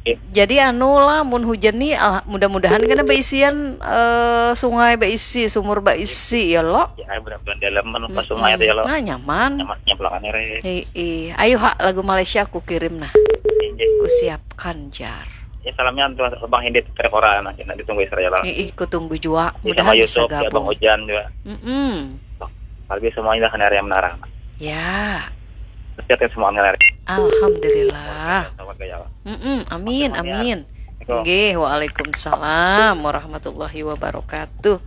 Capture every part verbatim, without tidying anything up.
Jadi anu lah, mun hujan nih, mudah-mudahan kena baisian uh, sungai baisi, sumur baisi ya lo. Ya, benar-benar dalam anu pas sungai itu ya lo. Nah, nyaman. Nyaman nyemplakan ere. Ih, ayo hak lagu Malaysia aku kirim nah. Aku siapkan jar. Ya salamnya untuk Bang Hindi Trekora nanti ditunggu Israel. Ih, aku tunggu juga. Mudahan bisa gabung. Bang Hujan juga. Mm -mm. Kalau semuanya kan area menara. Ya. Sehat ya semua menara. Alhamdulillah. Selamat gaya. Mm-mm, amin, amin. Nggih, waalaikumsalam warahmatullahi wabarakatuh.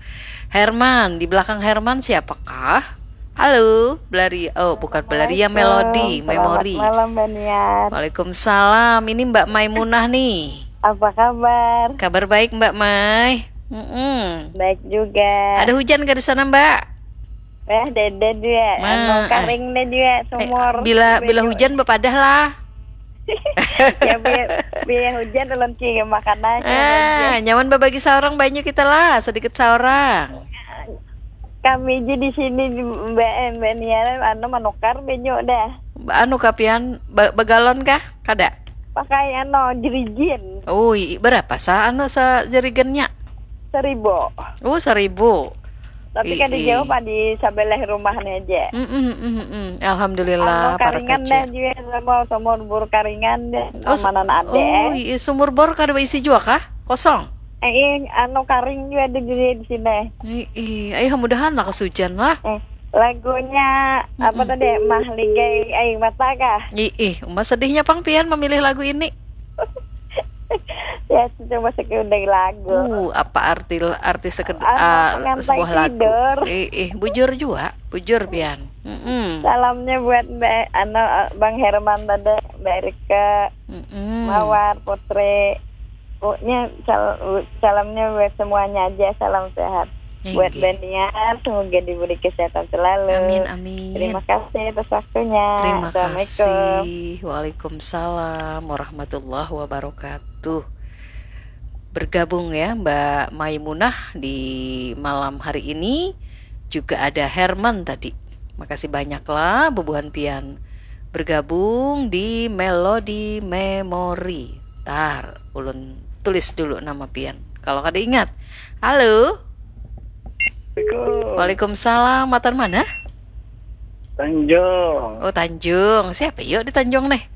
Herman, di belakang Herman siapakah? Halo, Belaria. Oh, bukan Belaria, Melody, Memory. Malam, Baniar. Waalaikumsalam. Ini Mbak Maimunah nih. Apa kabar? Kabar baik, Mbak Mai. Mm-mm. Baik juga. Ada hujan ke di sana, Mbak? Eh, dede dia. Nah, anu, karing deh dia, sumur. Eh, bila bila hujan bepadah lah. Ya, biar, biar hujan ulun ki makan aja. Ah, nyaman berbagi seorang banyak kita lah, sedikit seorang. Kami aja di sini, Mbak, Mbak Nia, anu, menukar banyak dah. Anu kapian, begalon kah? Kada. Pakai anu, jerigen. Ui, berapa sa anu sa jerigennya? Seribu. Oh, seribu. Tapi kan dijawab di sebelah rumahnya aja. Mm -mm, mm -mm. Alhamdulillah. Anu, karingan dah juga sama sama bur karingan deh. Oh, mana ada. Oh, iya, sumur bor kada berisi juga kah? Kosong. Eh, iya, anu karing juga ada juga di sini. Iya, ayo mudahan lah kesujan lah. Eh, lagunya hmm. Apa tadi? Mah Ligai Air Mata kah? Iya, uma sedihnya pang pian memilih lagu ini. Ya, cuma sekedar lagu. Uh, apa arti arti sekedar uh, sebuah lagu? Ih, ih, bujur juga, bujur pian. Mm -mm. Salamnya buat Mbak Ano, Bang Herman tadi, Mbak Rika, mm -mm. Mawar, Putri. Pokoknya sal salamnya buat semuanya aja, salam sehat. Buat Baniar, semoga diberi kesehatan selalu. Amin, amin. Terima kasih atas waktunya. Terima kasih. Waalaikumsalam warahmatullahi wabarakatuh. Bergabung ya Mbak Maimunah di malam hari ini. Juga ada Herman tadi. Makasih banyak lah bubuhan pian bergabung di Melody Memory. Tar, ulun tulis dulu nama pian. Kalau kada ingat. Halo. Assalamualaikum. Waalaikumsalam. Matan mana? Tanjung. Oh, Tanjung. Siapa yuk di Tanjung nih?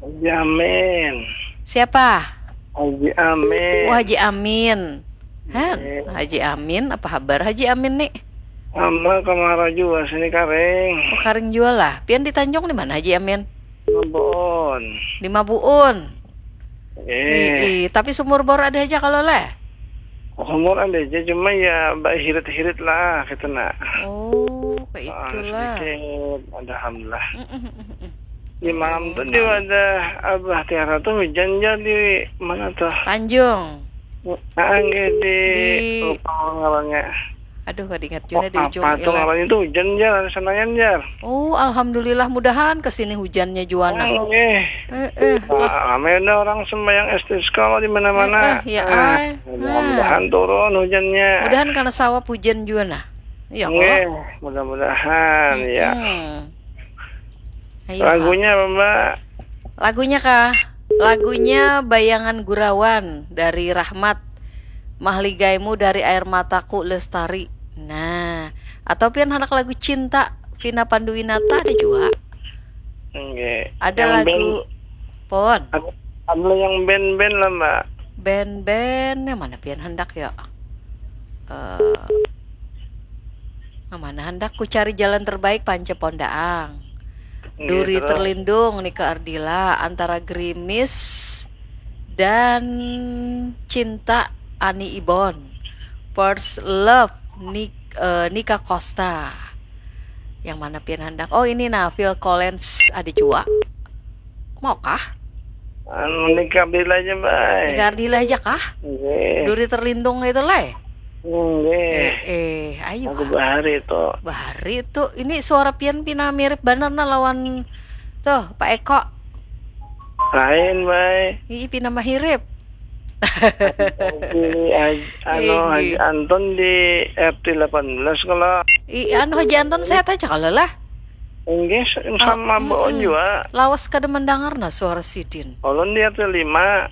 Haji Amin. Siapa? Haji Amin. Oh, Haji Amin. Hah? Haji Amin, apa habar Haji Amin nih? Ama kamara jua sini karing. Oh, karing jua lah. Pian di Tanjung di mana Haji Amin? Mabuun. Di Mabuun. Eh. Ih, tapi sumur bor ada aja kalau lah. Sumur ada aja, cuma ya mbak hirit-hirit lah kita nak. Oh, kayak ah, itulah. Sedikit, alhamdulillah. Mm -mm. Di malam tu di wadah Abah Tiara tu hujan ja di mana tu? Tanjung. Ah, nggih di, di lupa ngarannya. Aduh, kada ingat juga di ujung apa tu ngarannya tu hujan ja di Senayan ja. Oh, alhamdulillah, mudahan kesini hujannya juana. Oh, nggih. Eh, eh, nah, ramai ada orang sembahyang istisqa di mana-mana. Eh, eh, ya, ah, ay. Mudah-mudahan ah. Turun hujannya. Mudahan karena sawap hujan juga nah. Ya Allah. Nggih, mudah-mudahan hmm, ya. Hmm. Ayo, lagunya apa, Mbak? Lagunya kah? Lagunya Bayangan Gurawan dari Rahmat. Mahligaimu dari air mataku lestari. Nah, atau pian anak lagu cinta Vina Panduwinata ada juga. Enggak. Ada yang lagu band, pon. Ada, ada yang band-band lah, Mbak. Band-band yang mana pian hendak ya? Uh, Mana hendak ku cari jalan terbaik panca pondaang. Duri terlindung Nika Ardila antara gerimis dan cinta Ani Ibon. First love Nik, uh, Nika Costa. Yang mana pian hendak? Oh ini nah Phil Collins ada jua. Maukah? Anu nikah bila aja, Bay. Nikah bila aja kah? Nggih. Duri terlindung itu lah. Nggih. Eh, eh, ayo. Aku bahari itu. Bahari itu. Ini suara pian pina mirip benar nah lawan tuh Pak Eko. Lain, Bay. Ih, pina mahirip. Pilih anu Haji Anton di R T delapan belas kalau. Ih, anu Haji Anton sehat aja kalau lah. Enggak, sama oh, mm, juga. Lawas kada mendengar nah suara sidin. Ulun di R T lima.